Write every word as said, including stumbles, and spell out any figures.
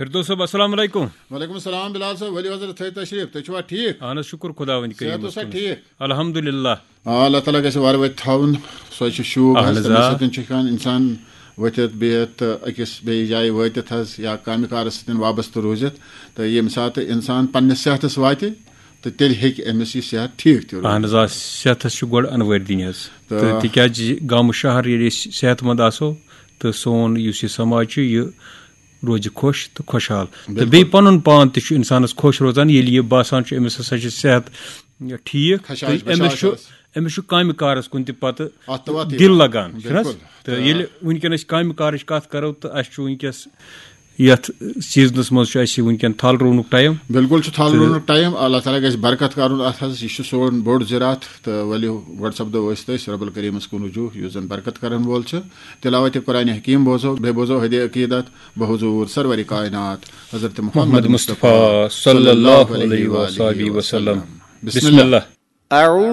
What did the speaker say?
فردوس صٲب، السلام علیکم۔ وعلیکم السلام بلال صٲب، ؤلِو حضرت تھٲیِو تشریٖف، تُہۍ چھِوا ٹھیٖک؟ اہن حظ، شُکُر خۄداوٕنۍ صحت کٔرِیٖمَس اوسا کُن۔ ٹھیٖک؟ الحمدللہ۔ آ، اللہ تعالیٰ گژھِ وارٕ وٲتۍ تھاوُن، سۄے چھِ شوٗب اہن حظ، حظ، تٔمِس آ۔ سۭتۍ چھُ ہٮ۪کان اِنسان ؤتھِتھ بِہِتھ تہٕ أکِس بیٚیِس جایہِ وٲتِتھ حظ، یا کامہِ کارَس سۭتۍ وابستہٕ روٗزِتھ۔ تہٕ ییٚمہِ ساتہٕ اِنسان پنٛنِس صحتَس واتہِ تہٕ تیٚلہِ ہیٚکہِ أمِس یہِ صحت ٹھیٖک تہِ روٗزِتھ۔ اہن حظ، آ، صحتَس چھُ گۄڈٕ اَنوٲرۍ دِنۍ حظ۔ تہٕ تہٕ تِکیٛازِ گامہٕ شہر ییٚلہِ أسۍ صحت مند آسو تہٕ سون یُس یہِ سماج چھُ، یہِ روزِ خۄش تہٕ خۄشحال۔ تہٕ بِلکُل۔ بیٚیہِ پَنُن پان تہِ چھُ اِنسانَس خۄش روزان، ییٚلہِ یہِ باسان چھُ أمِس ہسا چھُ صحت ٹھیٖک، خشاش تہٕ أمِس بشاش چھُ حظ۔ أمِس چھُ کامہِ کارَس کُن تہِ پَتہٕ اَتھ تہٕ وَتھ دِل یِوان۔ لگان، چھُنہٕ حظ؟ بِلکُل۔ تہٕ ییٚلہِ وٕنکیٚن أسۍ کامہِ کارٕچ کَتھ کَرو، تہٕ اَسہِ چھُ وٕنکیٚس یَتھ سیٖزنَس منٛز چھُ اَسہِ وٕنکیٚن تھل رُونُک ٹایم۔ بِلکُل چھُ تھل رُونُک ٹایم۔ اللہ تعالیٰ گژھِ برکت کرُن اتھ حظ۔ یہِ چھُ سون بوٚڑ زِراعت۔ تہٕ ؤلِو گۄڈٕ سپدو أسۍ تہٕ أسۍ رب الکریمس کُن رجوع، یُس زن برکت کرن وول چھُ۔ تلاوت قرآن حکیم بوزو، بیٚیہِ بوزو ہدی عقیدت بحضور سرور کائنات حضرت محمد محمد مصطفیٰ صلی اللہ علیہ وآلہ وسلم۔ بسم اللہ۔ أعوذ